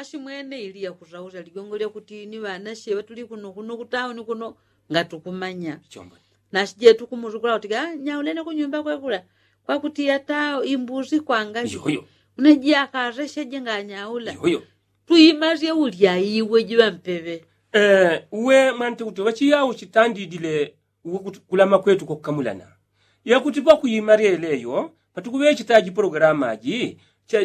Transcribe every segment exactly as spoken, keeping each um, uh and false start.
Simwene ili yakusausya ligongo lyakuti ni ŵanasye ŵatuli kuno kuno kutauni kuno, ngatukumanya. Nasije tukumuzukula kuti nyaulene kunyumba kwekula, kwakuti ata imbusi kwanga. Unaji akasesyeje nganyaula. Tuimasye ulya iwe jiŵa mpeŵe. Uwe mwanti kuti ŵachiyau chitandidile uwe kuti kulama kwetu kwakukamulana. Yakuti pakuima lyeleyo patukuŵechitaji pologalama aji,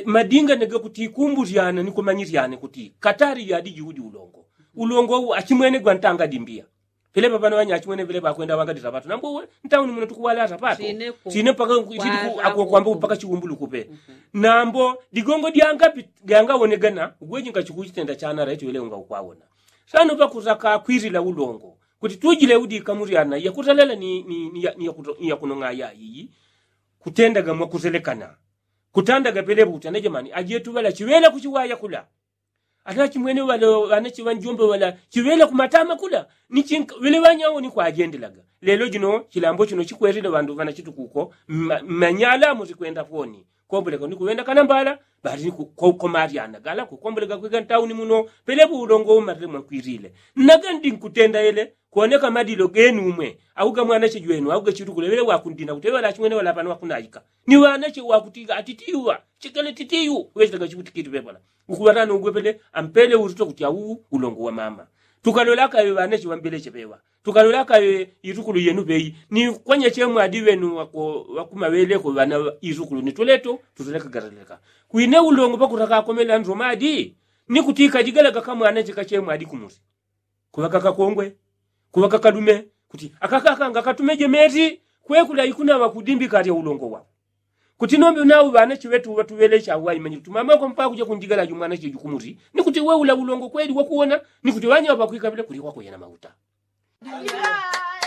madinga negakuti ikumbusyana ni kumanyisyana kuti katali yadi jiudi ulongo. Ulongo uwu achimwene gwantanga dimbiya. Pelepa pano ŵanya achimwene pelepa akwenda ŵangadisa ŵatu nambo uwe ntauni muno tukuŵalasa pato. Sine mpaka kwamba mpaka chiwumbulukupe. Nambo digongo dyangapi dyangawonegana ugweji ngachikuchitenda chanara icho ile unga ukwawona. Sano pakusaka kwilila ulongo kuti tujile udika mulyana yakusalela ni yakunong'aya iyi. Kutendaga mwakuselekana kutandaga pelepa kuti anajamani ajetu ŵala chiŵela kuchiwaya kula. Ata chimwene ŵale ŵanache ŵanjombe ŵala chiŵela kumatama kula. Ni chinka ŵele ŵanyawo ni kwajendelaga. Lelo jino chilambo chino chikwelile ŵandu ŵanachitukuko mmanyala musikwenda foni. Komboleka ni kuŵenda kanambala bali ni kukomalyana gala kukomboleka kwika ntauni muno. Pelepa ulongo umalile mwakwilile. Nagandi nkutenda ele kwoneka madilo genu umwe au gamwanache jwenu au gachitukule ŵele wakundina kuti ŵala achimwene ŵala pano ŵakunaika ni ŵanache wakutiga atitiwa chikele titiyu. Ŵechitaga chikutikiti ŵepala ukuŵatana ugwepele ampele uruto kuti au ulongo wa mama. Tukalola akaŵe ŵanache ŵambeleche ŵeŵa tukalola akaŵe itukulu yenu ŵeyi ni kwanya chemwadi ŵenu wakumaŵeleko ŵana itukulu ni tuleto tuteleka gataleka. Kwine ulongo pakuta kakomela nzomadi ni kuti kajigalaga kamwanache kachemwadi kumusi. Kuŵaka kakongwe kuŵaka kalume kuti akakaka ngakatumeje meti kwekula ikunaŵa kudimbika alya ulongo wao. Kuti nombe unau ŵanache ŵetu ŵatuŵelecha awaimanyile tumamako mpaka kuja kunjigala jumwanache jukumusi ni kuti weula ulongo kweli wakuwona ni kuti ŵanya ŵakwikapila kuli wakweyana mauta.